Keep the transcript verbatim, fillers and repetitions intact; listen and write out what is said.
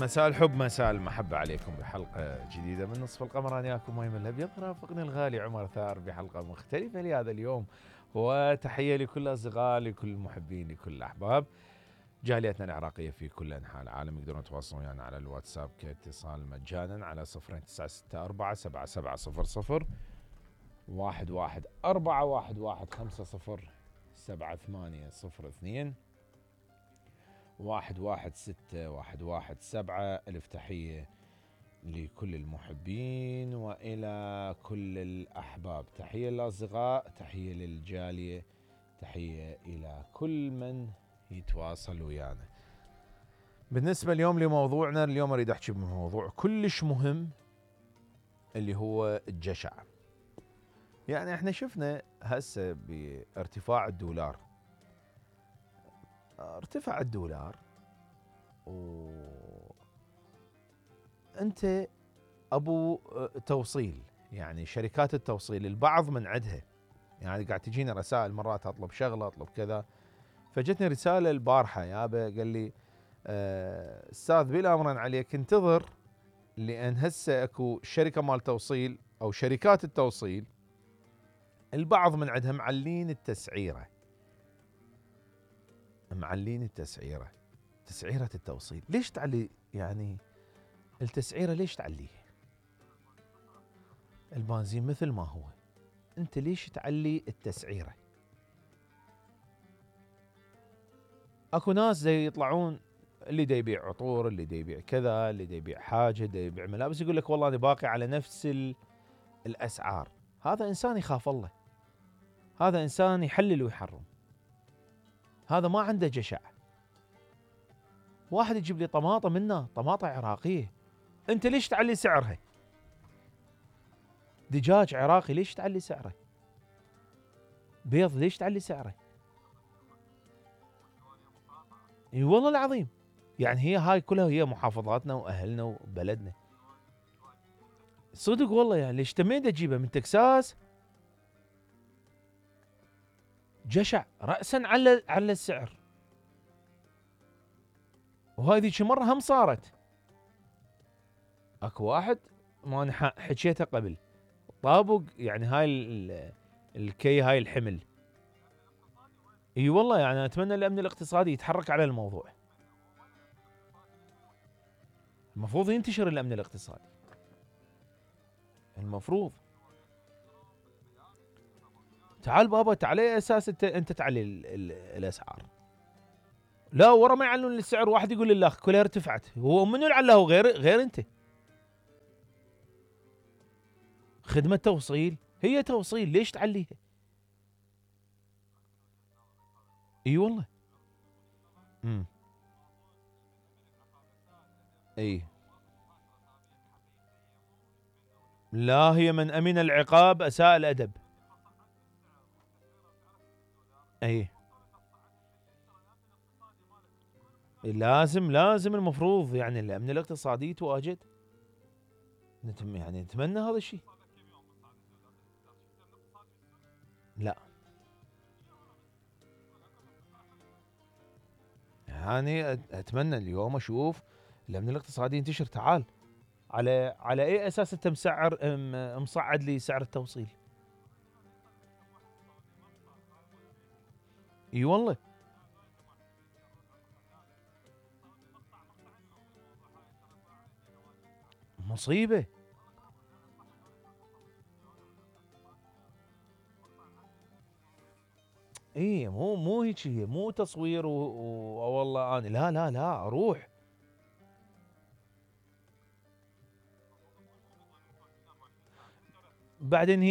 مساء الحب مساء المحبة عليكم بحلقة جديدة من نصف القمر. أنا وياكم مايم الأبيض، رافقني الغالي عمر ثار بحلقة مختلفة لهذا اليوم، وتحية لكل الأصدقاء، لكل المحبين، لكل الأحباب. جاليتنا العراقية في كل أنحاء العالم يقدرون يتواصلون ويانا على الواتساب كاتصال مجانا على صفر تسعة ستة أربعة سبعة سبعة صفر صفر واحد واحد أربعة واحد واحد خمسة صفر سبعة ثمانية صفر اثنين واحد واحد ستة واحد واحد سبعة. ألف تحية لكل المحبين وإلى كل الأحباب، تحية للأصدقاء، تحية للجالية، تحية إلى كل من يتواصل ويانا. بالنسبة اليوم لموضوعنا، اليوم أريد أحكي بموضوع كلش مهم اللي هو الجشع. يعني احنا شفنا هسه بارتفاع الدولار، ارتفع الدولار وانت ابو توصيل، يعني شركات التوصيل البعض من عندها، يعني قاعد تجينا رسائل مرات اطلب شغله اطلب كذا. فجتني رساله البارحه يابا قال لي آه استاذ بلا امرا عليك انتظر، لان هسه اكو شركه مال توصيل او شركات التوصيل البعض من عندها معلين التسعيره، معلين التسعيره تسعيره التوصيل. ليش تعلي يعني التسعيره؟ ليش تعليها؟ البنزين مثل ما هو، انت ليش تعلي التسعيره؟ اكو ناس زي يطلعون، اللي دا يبيع عطور، اللي دا يبيع كذا، اللي دا يبيع حاجه، دا يبيع ملابس، يقول لك والله انا باقي على نفس الاسعار. هذا انسان يخاف الله، هذا انسان يحلل ويحرم، هذا ما عنده جشع. واحد يجيب لي طماطم منا، طماطم عراقيه، انت ليش تعلي سعرها؟ دجاج عراقي ليش تعلي سعره؟ بيض ليش تعلي سعره؟ اي والله العظيم، يعني هي هاي كلها هي محافظاتنا واهلنا وبلدنا. صدق والله، يعني ليش تمين تجيبها من تكساس؟ جشع رأسا على على السعر. وهاي ذيك مرة هم صارت، اكو واحد ما انا حكيته قبل طابق، يعني هاي الكي هاي الحمل. اي والله، يعني اتمنى الامن الاقتصادي يتحرك على الموضوع، المفروض ينتشر الامن الاقتصادي، المفروض. تعال بابا، تعال على اساس انت انت تعلي الاسعار؟ لا، ورا ما يعلنون السعر واحد يقول لله كلها ارتفعت. هو منو اللي علاه؟ غير غير انت. خدمة توصيل هي توصيل، ليش تعليها؟ اي والله. امم اي لا، هي من امن العقاب اساء الادب. اي لازم لازم المفروض يعني الامن الاقتصادي يتواجد، نتم يعني نتمنى هذا الشيء. لا يعني اتمنى اليوم اشوف الامن الاقتصادي ينتشر. تعال، على على اي اساس انت مسعر مصعد لي سعر التوصيل؟ اي والله مصيبه. اي مو مو هيك، هي مو تصوير والله انا لا لا لا اروح. بعدين هي